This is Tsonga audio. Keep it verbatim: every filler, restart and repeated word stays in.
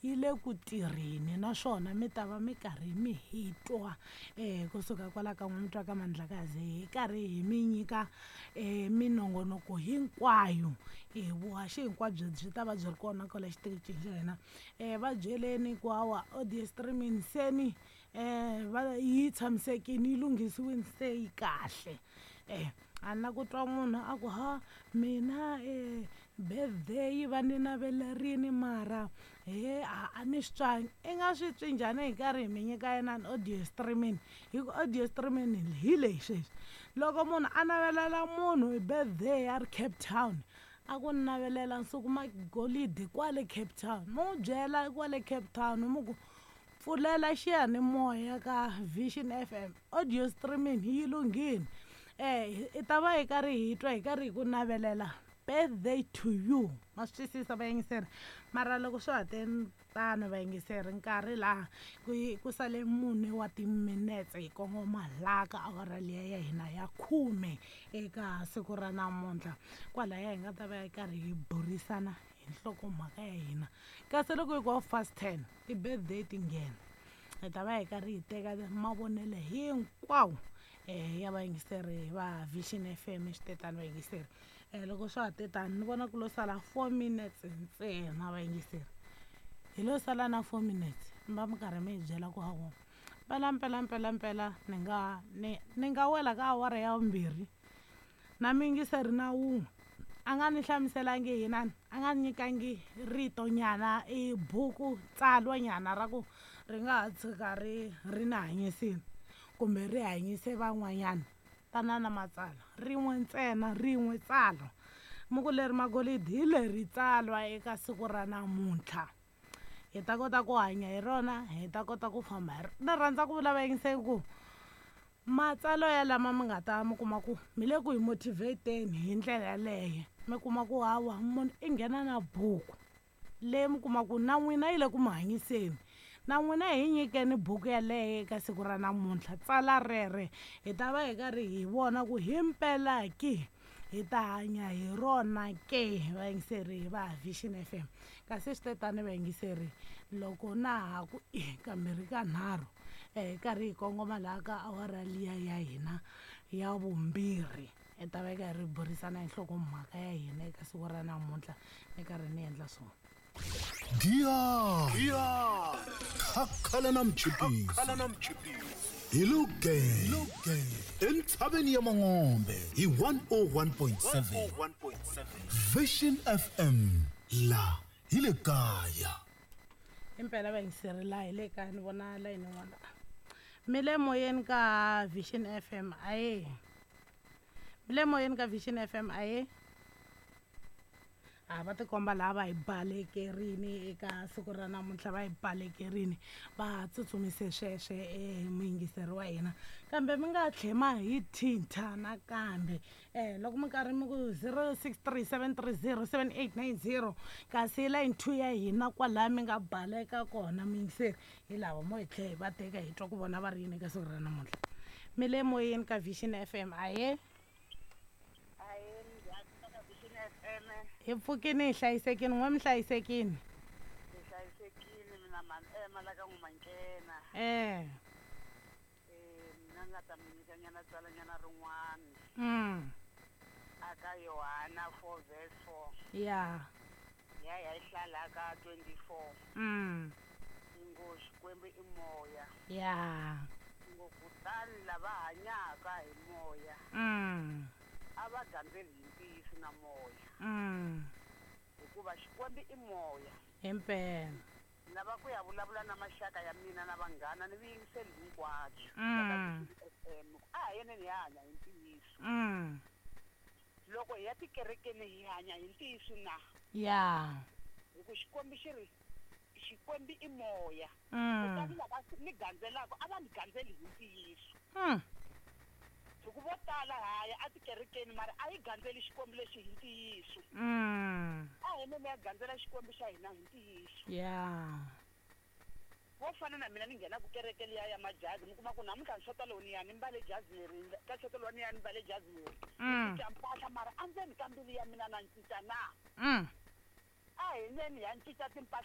yi le ku tirheni naswona mi ta va mi karhi mi hi twa um kusuka kwala ka n'we mutwa ka Mandlakazi hi karhi hi mi nyika um minongonoko hinkwayo. E vuhaxi hinkwabyo byi ta va byi ri kona kwala xitichini xa hina. um Va byeleni ku hawa audio streaming seni um va yi tshamisekile, yi lunghisiwile, se yi kahle. um A ni la ku twa munhu a ku ha mina um birthday va ni navelerini mara he a a ni swi twangi. I nga swi twi njhani hi karhi hi mi nyika inani audio streaming? Hi ku audio streaming hi leyi sweswi loko munhu a navelela munhu hi birthday a ri Cape Town, a ku ni navelela nsuku magolidi kwale Cape Town, mi n'wi byela kwale Cape Town mi ku pfulela xiyanimoya ka Vision F M, audio streaming yi lunghile. um I ta va hi karhi hi twa hi karhi hi ku navelela birthday to you. Ma swi twisisa, vayingiseri? Mara loko swa ha te tano, vayingiseri, nkarhi laha ku ku sale mune wa timinetse hi kongoma laha ka awara liya ya hina ya khume eka siku ra namuntlha, kwalaya hi nga ta va hi karhi hi burisana hi nhlokomhaka ya hina. Kasi loko hi ku half past ten ti-birthday ti nghena, hi ta va hi karhi hi teka mavonelo hinkwawo um ya vayingiseri va Vision F M. Swi tetani vayingiseri, um loko swa ha te tani, ni vona ku lo sala four minutes ntsena. Vayingiseri, hi lo sala na four minutes, mi va mi karhi mi hi byela ku hawa mpela mpela mpela mpela ni nga ni ni nga wela ka awara ya vumbirhi na muyingiseri na wun'we a nga ni hlamuselangi hinani, a nga ni nyikangi rito nyana, i buku tsalwa nyana ra ku ri nga ha tshuka ri ri ni hanyisini kumbe ri hanyise van'wanyana. Tana na matsalwa rin'we ntsena, rin'we tsalwa mi ku leri magolidi hi leri tsalwa eka siku ra namuntlha, hi ta kota ku hanya hi rona, hi ta kota ku famba hi rona. Ni rhandza ku vula, vayingiseki, ku matsalwa ya lama mi nga ta mi kuma ku mi le ku hi motivateni hi ndlela yaleyo, mi kuma ku hawa munhu i nghena na buku leyi mi kuma ku na n'wina yi le ku mi hanyiseni, na n'wina hi nyikeni buku yaleyo eka siku ra namuntlha, tsala rere, hi ta va hi karhi hi vona ku himpela ki hi ta hanya hi rona ke. Vayingiseri va Vision F M, kasi swi te tani, vayingiseri, loko na ha ku i kambirhi ka nharhu um karhi hi kongoma laha ka awara liya ya hina ya vumbirhi, hi ta va hi karhi hi burisana hi nhlokomhaka ya hina eka siku ra namuntlha. Ni karhi ni endla swona. Giya khakhala na mchipisi hi luge entshaveni ya Mangombe hi one oh one point seven Vision F M, la hi le kaya. Impela, vayingiseri, laha hi le kaya. Ni vona layini yin'wana. Mi le moyeni ka Vision F M, aye. Mi le moyeni ka Vision F M, aye. A va tikomba laha va hi balekerini eka siku ra namuntlha, va hi balekerini, va tsutsumise sweswe um muyingiseri wa hina. Kambe mi nga tlhema hi thintha nakambe um loko mi karhi mi ku zero six three seven three zero seven eight nine zero, kasi line two ya hina kwalaya mi nga baleka kona, muyingiseri, hi lava mo hi tlhe hi va teka, hi twa ku vona va ri yini eka siku ra namuntlha. Mi le moyeni ka Vision F M, aye. Ahe, njhani ka Vision F M? Hi pfukini, hi hlayisekini. N'we mi hlayisekini? Hi hlayisekile. Mina mani ema la ka n'wamankena. Eh. Eh, mina nga ta mi nyika nyana tsalanyana rin'wana mm aka Yohana four verse four. Ya. Ya ya yi hlala ka twenty-four. mm Ngo Xikwembu i moya. Ya. Ngo kutani lava hanyaka hi moya mm a va gandzeli hi ntiyiso na moya, mm hikuva Xikwembu i moya. Himpela. Lava ku ya vulavula na maxaka ya mina na vanghana ni vuyingiseli hinkwabyo Mm. F M, a hi yeneni hi hanya hi ntiyiso. Mm loko hi ya tikerekeni, hi hanya hi ntiyiso na? Ya. Hi ku Xikwembu xi ri Xikwembu i moya, mm kutani lava ni gandzelaka a va ni gandzeli hi ntiyiso. Mm hi ku vo tala haya atikerekeni, mara a yi gandzeli Xikwembu lexi hi ntiyiso. Mm A hi neni ya gandzela Xikwembu xa hina hi ntiyiso. Ya. Vo fana na mina, ni nghenaku kereke liya ya majazi, mi kuma ku namuntlha ni xota lowu ni ya ni mbale jazi leri, ka xota lowu ni ya ni mbale jazi leri, ni Mm. cinca mpahla, mara andzeni ka mbilu ya mina na cinca na? Mm A hi neni ya cinca timpahla.